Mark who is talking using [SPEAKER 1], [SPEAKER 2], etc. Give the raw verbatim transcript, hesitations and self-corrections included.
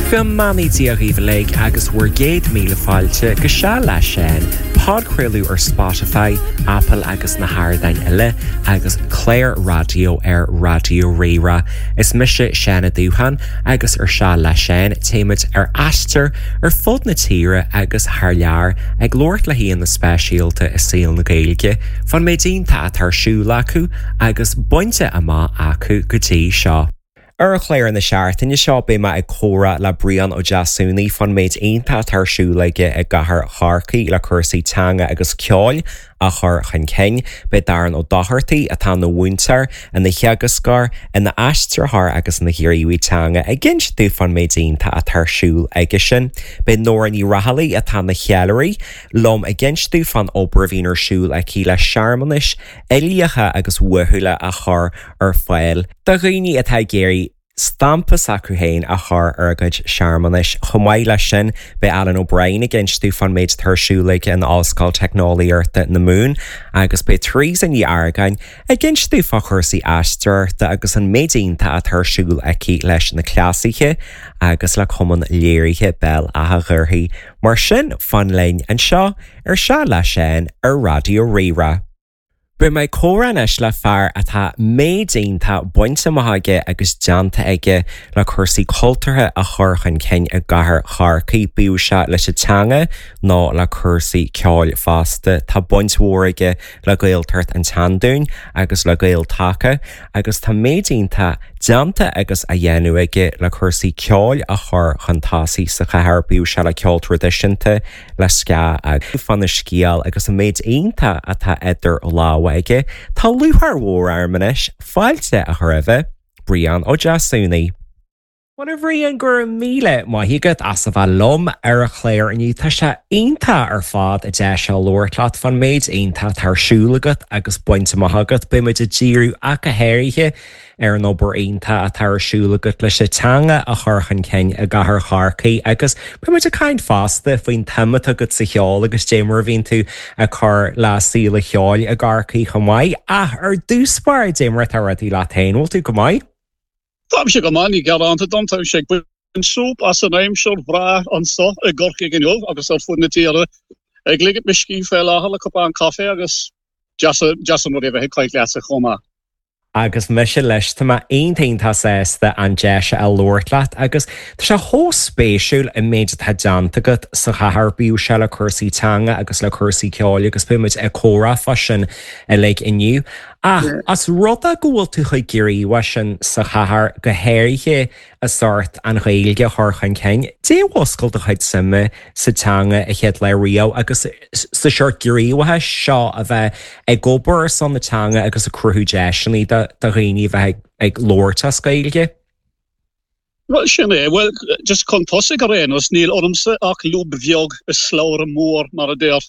[SPEAKER 1] Go mbeannaí Dia dhaoibh uilig agus bhur gcéad míle fáilte go Seal le Seán, podchraoladh ar Spotify, Apple agus na hardáin eile agus clár raidió ar Raidió Rí-Rá. Is mise Seán Ó Dúcháin agus ar Seal le Seán téimid ar aistear ar fud na tíre agus thar lear ag labhairt le haíonna speisialta i saol na Gaeilge, fán méid iontach atá ar siúl acu agus bainte amach acu go dtí seo. Ar chlár na seachtaine seo beidh mé ag comhrá le Brian Ó Deasúnaí fán méid iontach atá ar siúl aige i gcathair Chorcaí le cúrsaí teanga agus ceoil a chur chun cinn, Beidh Darren Ó Dochartaigh atá ina mhúinteoir, ina theagascóir, ina aistritheoir agus ina ghníomhaí teanga ag inse dúinn fán méid iontach atá ar siúl aige sin. Beidh Nóra Ní Raghallaigh atá ina cheiliúraí liom ag inse dúinn fán obair a bhíonn ar siúl aici le searmanais uilíocha agus uathúla a chur ar fáil do dhaoine atá ag iarraidh stampa s'acu féin a chur ar a gcuid searmanais. Chomh maith leis sin beidh Alan O'Brien ag inse dúinn fán méid atá ar siúl aige in Ollscoil Teicneolaíochta na Mumhan agus beidh Teresa Ní Argáin ag inse dúinn fá chúrsaí aisteoireachta agus an méid iontach atá ar siúl aici leis na cleasaithe agus le cumann léirithe Béal Átha Ghaorthaidh. Mar sin fan linn anseo ar Seal le Seán ar Raidió Rí-Rá. Beidh mé ag comhrá anois le fear atá méid iontach bainte amach aige agus déanta aige le cúrsaí cultúrtha a chur chun cinn i gcathair Chorcaí, bíodh sé leis an teanga nó le cúrsaí ceoil fosta. Tá baint mhór aige le Gaeltacht an tSeandúin agus le Gael-Taca agus tá méid iontach déanta agus á dhéanamh aige le cúrsaí ceoil a chur chun tosaigh sa chathair, bíodh sé le ceol traidisiúnta, le ska agus faoina scéal agus an méid iontach atá idir lámha aige. Tá lúcháir mhór orm anois fáilte a chur roimh Brian Ó Deasúnaí. Bhuel a Bhriain go raibh míle maith agat as a bheith liom ar an chlár inniu tá sé iontach ar fad an deis seo labhairt leat fán méid iontach atá ar siúl agat agus bainte amach agat, beidh muid ag díriú ach go háirithe ar an obair iontach atá ar siúl agat leis an teanga a chur chun cinn i gcathair Chorcaí agus beidh muid ag caint fosta faoin tsuim atá agat sa cheol agus dé mar a bhíonn tú ag cur le saol an cheoil i gCorcaigh chomh maith ach ar dtús báire dé mar atá rudaí leat féin, bhfuil tú go maith?
[SPEAKER 2] Táimse go maith ní gearán dom tá sé ag súp as an aimsir bhreá anseo i gCorcaigh inniu agus ar fud na tíre ag ligean mo scíth fé láthair le cupán caife agus deas an rud é bheith ag caint leatsa chomh maith.
[SPEAKER 1] Agus mise leis tá mé iontach sásta an deis a labhairt leat agus tá sé chomh spéisiúil an méid atá déanta agat sa chathair bíodh sé le cúrsaí teanga agus le cúrsaí ceoil agus beidh muid ag comhrá fá sin uilig inniu. Ach as rud é go bhfuil tú chomh gníomhach sin sa chathair go háirithe i sórt an Ghaeilge a chur chun cinn, Dé mhúscail do chuid suime sa teanga an chéad lá riamh agus sa seort gníomhachais seo a bheith ag obair ar son na teanga agus ag cruthú deiseanna do do dhaoine a bheith ag labhairt as Gaeilge.
[SPEAKER 2] Well sin é, well just chun tosaigh ar aon nós níl ormsa ach lúb bheag i slabhra mór mar a deir